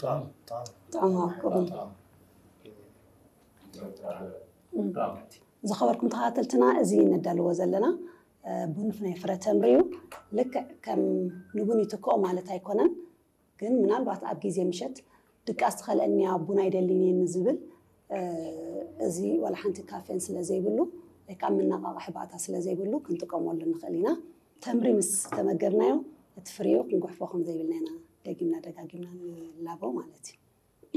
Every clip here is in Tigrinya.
ጥዑም ጥዑም ዝኸበርኩም ተኸታተልትና፣ እዚ ነዳልዎ ዘለና ቡን ናይ ፍረ ተምሪ እዩ። ልክዕ ከም ንቡን ይትክኦ ማለት ኣይኮነን፣ ግን ምናልባት ኣብ ግዜ ምሸት ድቃስ ትኸልአኒ እያ፣ ቡን ኣይደልይን እየ ንዝብል፣ እዚ ዋላ ሓንቲ ካፌን ስለ ዘይብሉ ወይ ከዓ መነቓቕሒ ባእታ ስለ ዘይብሉ ክንጥቀመሉ ንኽእል ኢና። ተምሪ ምስ ተመገብናዮ እቲ ፍሪኡ ክንጉሕፎ ከም ዘይብልና ኢና ደጊምና ደጋጊምና ንላቦ ማለት እዩ።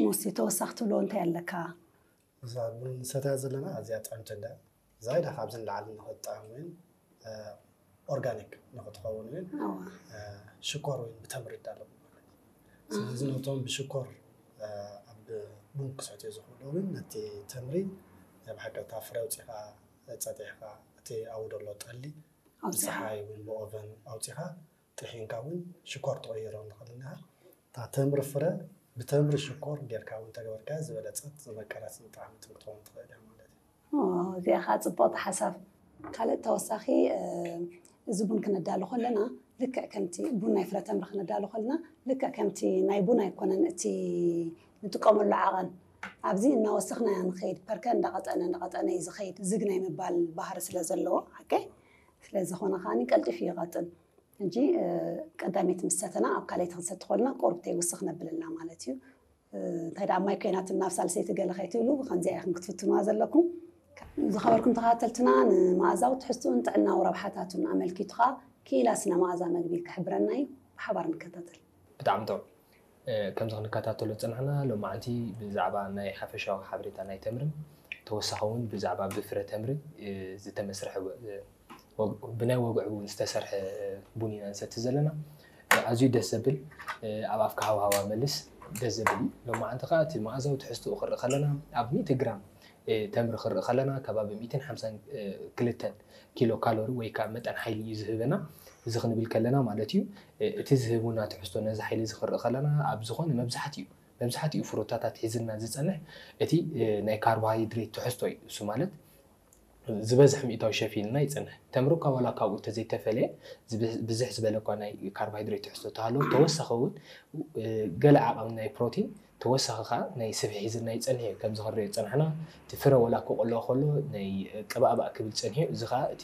ሙሴ፣ ተወሳኺ ትብሎ እንታይ ኣለካ? እዛ ቡን ንሰትያ ዘለና ኣዝያ ጥዕምቲ እንዳ ዛይዳ ካብዚ ንላዕሊ ንኽትጥዕም እውን ኦርጋኒክ ንኽትኸውን እውን ሽኮር እውን ብተምሪ ይዳሎ። ስለዚ ነቶም ብሽኮር ኣብ ቡን ክሰትዮ ዝኽእሉ እውን ነቲ ተምሪ ናይ ብሓቂ እታ ፍረ ኣውፂኻ ጸጢሕካ እቲ ኣብኡ ዘሎ ጠሊ ብፀሓይ እውን ብኦቨን ኣውፂኻ ጥሒንካ እውን ሽኮር ትቕይሮ ንኽእል ኢና። እታ ተምሪ ፍረ ብተምሪ ሽኮር ጌርካ እውን ተገበርካ ዝበለፀት ዝመቀረትን ጣዕምትን ክትኸውን ትኽእል እያ ማለት እዩ። እዚኣ ከዓ ፅብቕቲ ሓሳብ። ካልእ ተወሳኺ እዚ ቡን ክነዳሉ ከለና ልክዕ ከምቲ ቡን ናይ ፍረ ተምሪ ክነዳሉ ከለና ልክዕ ከምቲ ናይ ቡን ኣይኮነን እቲ ንጥቀመሉ ዓቐን ኣብዚ እናወሰኽና ኢና ንኸይድ። ፐርከ እንዳቐጠነ እንዳቐጠነ እዩ ዝኸይድ። ዝግ ናይ ምባል ባህሪ ስለ ዘለዎ ሓቀይ ስለ ዝኾነ ከዓኒ ቀልጢፉ ይቐጥን። ሕጂ ቀዳመይቲ ምስ ሰተና ኣብ ካልኣይቲ ክንሰቲ ከለና ቁሩብ ተይውስኽ ነብለልና ማለት እዩ። እንታይ ደኣ ማይ ኮይናትና ኣብ ሳልሰይቲ ገለ ከይትብሉ ብኸምዚ ኢኹም ክትፍትኑዋ ዘለኩም። ዝኸበርኩም ተኸታተልትና ንመኣዛዊ ትሕዝትኡን ጥዕናዊ ረብሓታቱን ኣመልኪቱ ኸኣ ክኢላ ስነ መኣዛ መግቢ ክሕብረና እዩ። ብሓባር ንከታተል። ብጣዕሚ ጥዑም። ከምዚ ክንከታተሎ ዝፀናሕና ሎማዓንቲ ብዛዕባ ናይ ሓፈሻዊ ሓበሬታ ናይ ተምርን ተወሳኺ እውን ብዛዕባ ብፍረ ተምሪ ዝተመስርሐ ብናይ ወግዒ እውን ዝተሰርሐ ቡን ኢና ንሰቲ ዘለና። ኣዝዩ ደስ ዘብል ኣብ ኣፍካ ሃውሃዋ መልስ ደስ ዘብል እዩ። ሎማዓንቲ ከዓ እቲ መኣዛዊ ትሕዝትኡ ክርኢ ከለና ኣብ ሚእቲ ግራም ተምሪ ክርኢ ከለና ከባቢ ሚእትን ሓምሳን ክልተን ኪሎ ካሎሪ ወይ ከዓ መጠን ሓይሊ እዩ ዝህበና። እዚ ክንብል ከለና ማለት እዩ እቲ ዝህቡና ትሕዝቶ ነዚ ሓይሊ እዚ ክርኢ ከለና ኣብ ዝኾነ መብዛሕትኡ መብዛሕትኡ ፍሩታታት ሒዝልና ዝፀንሕ እቲ ናይ ካርቦሃይድሬት ትሕዝቶ እዩ። እሱ ማለት ዝበዝሕ ሚእታዊ ሸፊንና ይፀንሕ። ተምሪ እኳ ዋላ ካብኡ እንተዘይተፈለየ ብዝሕ ዝበለ እኳ ናይ ካርቦሃይድሬት ትሕዝቶ ተሃለዎ ተወሳኺ እውን ገለ ዓቐን ናይ ፕሮቲን ተወሳኺ ከዓ ናይ ስብሒ ሒዝልና ይፀንሕ እዩ። ከምዚ ክንሪኦ ዝፀናሕና እቲ ፍረ ዋላ ክቕሎ ከሎ ናይ ቅባእባእ ክብል ፀኒሑ እዚ ከዓ እቲ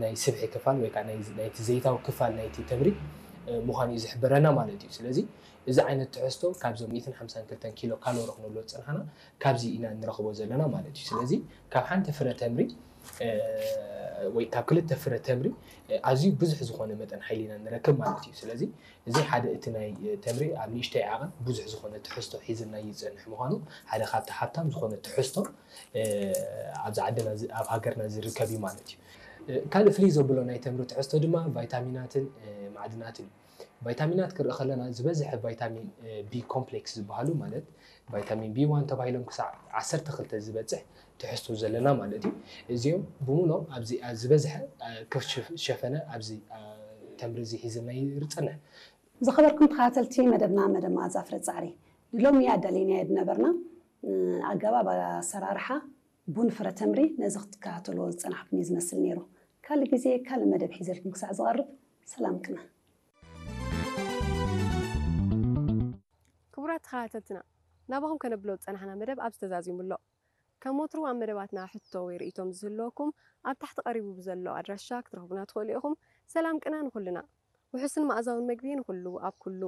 ናይ ስብሒ ክፋል ወይ ከዓ ናይቲ ዘይታዊ ክፋል ናይቲ ተምሪ ምዃኑ እዩ ዝሕብረና ማለት እዩ። ስለዚ እዚ ዓይነት ትሕዝቶ ካብዞም ሚእትን ሓምሳን ክልተን ኪሎ ካሎሪ ክንብሎ ዝፀናሕና ካብዚ ኢና ንረኽቦ ዘለና ማለት እዩ። ስለዚ ካብ ሓንቲ ፍረ ተምሪ ወይ ካብ ክልተ ፍረ ተምሪ ኣዝዩ ብዙሕ ዝኾነ መጠን ሓይሊ ኢና ንረክብ ማለት እዩ። ስለዚ እዚ ሓደ እቲ ናይ ተምሪ ኣብ ንእሽተይ ዓቐን ብዙሕ ዝኾነ ትሕዝቶ ሒዝና ይፀንሕ ምዃኑ ሓደ ካብቲ ሃብታም ዝኾነ ትሕዝቶ ኣብዚ ዓድና ኣብ ሃገርና ዝርከብ እዩ ማለት እዩ። ካልእ ፍልይ ዘብሎ ናይ ተምሪ ትሕዝቶ ድማ ቫይታሚናትን ማዕድናትን እዩ። ቫይታሚናት ክርኢ ከለና ዝበዝሐ ቫይታሚን ቢ ኮምፕሌክስ ዝበሃሉ ማለት ቫይታሚን ቢ ዋን ተባሂሎም ክሳዕ ዓሰርተ ክልተ ዝበፅሕ ትሕዝቶ ዘለና ማለት እዩ። እዚኦም ብሙሎም ኣብዚ ዝበዝሐ ክሸፈነ ኣብዚ ተምሪ እዚ ሒዝና ይርፀንሕ። ዝኸበርኩም ተኸታተልቲ መደብና መደብ መኣዛ ፍረ ፃዕሪ ንሎሚ ኣዳሊናዮ ዝነበርና ኣገባብ ኣሰራርሓ ቡን ፍረ ተምሪ ነዚ ክትከታተልዎ ዝፀናሕኩም እዩ ዝመስል ነይሩ። ካልእ ግዜ ካልእ መደብ ሒዘልኩም ክሳዕ ዝቐርብ ሰላም ቅነ። ክቡራት ተኸታተልትና ናባኹም ከነብሎ ዝፀናሕና መደብ ኣብዚ ተዛዚሙ ኣሎ። ከም ወትሩ ኣብ መደባትና ሕቶ ወይ ርእይቶም ዝህልወኩም ኣብ ታሕቲ ቀሪቡ ብዘሎ ኣድራሻ ክትረኽቡና ትኽእሉ ኢኹም። ሰላም ቅነ ንኹልና። ውሑስን መኣዛውን መግቢ ንኹሉ ኣብ ኩሉ።